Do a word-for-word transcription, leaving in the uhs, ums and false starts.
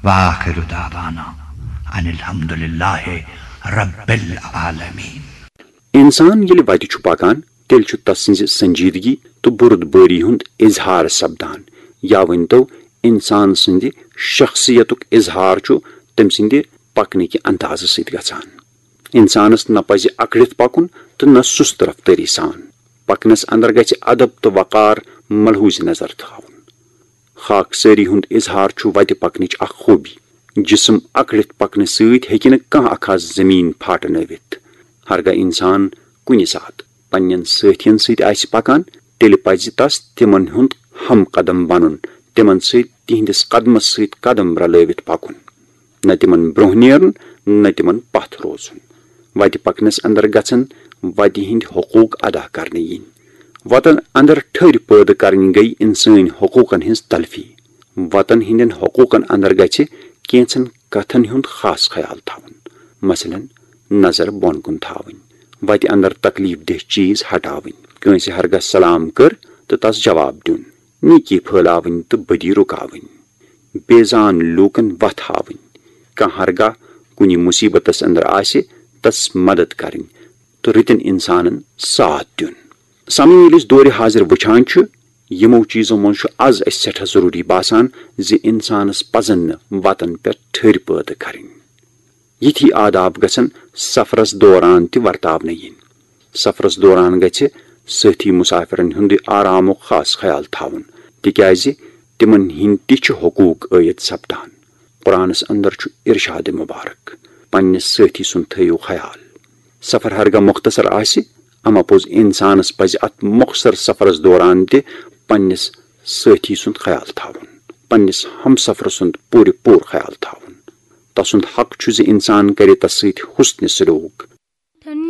وآخر دعوانا ان الحمد للہ رب العالمین۔ انسان ییٚلہِ وتہِ چھُ پکان، تیٚلہِ چھُ تس سٕنزِ سنجیدگی تہٕ بُرد بٲری ہُند اظہار سپدان، یا ؤنۍتو، انسان سٕندِ شخصیتُک اظہار چھُ تٔمۍ سٕندِ پکنٕکہِ اندازٕ سۭتۍ گژھان۔ انسانس نہ پزِ اکڑِتھ پکُن تہٕ نہ سُست رفتٲری سان۔ پکنس اندر گژھِ ادب تہٕ وقار ملحوظ نظر تھاوُن۔ خاکسٲری ہُند اظہار چھُ وتہِ پکنٕچ اکھ خوبی۔ جسم اکڑِتھ پکنہٕ سۭتۍ ہیکہِ نہٕ کانہہ اکھ ہس زمین پھاٹنٲوِتھ۔ ہرگاہ انسان کُنہِ ساتہٕ پننٮ۪ن سٲتھین سۭتۍ آسہِ پکان، تیٚلہِ پزِ تس تِمن ہُند ہم قدم بنُن، تِمن سۭتۍ تِہندِس قدمس سۭتۍ قدم رلٲوِتھ پکُن۔ نہ تِمن برونہہ نیرُن، نہ تِمن پتھ روزُن۔ وتہِ پکنس اندر گژھن وتہِ ہٕندۍ حقوق ادا کرنہٕ یِنۍ۔ وتن اندر ٹھٔرۍ پٲدٕ کرٕنۍ گٔیہِ انسٲنۍ حقوقن ہٕنز تلفی۔ وتن ہٕندٮ۪ن حقوقن اندر گژھِ کینژھن کتھن ہُند خاص خیال تھاوُن۔ مثلاً، نظر بۄن کُن تھاوٕنۍ، وتہِ اندر تکلیف دہ چیز ہٹاوٕنۍ، کٲنسہِ ہرگاہ سلام کٔر تہٕ تس جواب دیُن، نیکی پھٲلاوٕنۍ تہٕ بدی رُکاوٕنۍ، بے زان لوٗکن وتھ ہاوٕنۍ، کانہہ ہرگاہ کُنہِ مصیبتس اندر آسہِ، تس مدد کرٕنۍ تہٕ رٕتٮ۪ن انسانن ساتھ دیُن۔ سامعین، ییٚلہِ أسۍ دورِ حاضر وٕچھان چھِ، یِمو چیزو منٛز چھُ از اسہِ سٮ۪ٹھاہ ضروٗری باسان زِ انسانس پزن نہٕ وتن پٮ۪ٹھ ٹھٔرۍ پٲدٕ کرٕنۍ۔ یِتھی آداب گژھن سفرس دوران تہِ ورتاونہٕ یِنۍ۔ سفرس دوران گژھِ سٲتھی مسافرن ہُنٛد آرامُک خاص خیال تھاوُن، تِکیازِ تِمن ہٕنٛدۍ تہِ چھِ حقوق عٲید سپدان۔ قرآنس اندر چھُ ارشاد مبارک، پننِس سٲتھی سُنٛد تھٲیِو خیال۔ سفر ہرگاہ مختصر آسہِ، اما پوٚز انسانس پزِ اتھ مختصر سفرس دوران تہِ پننِس سٲتھی سُنٛد خیال تھاوُن، پننِس ہمسفر سُنٛد پوٗرٕ پوٗرٕ خیال تھاوُن۔ تسُنٛد حق چھُ زِ انسان کرِ تس سۭتۍ حسن سلوک،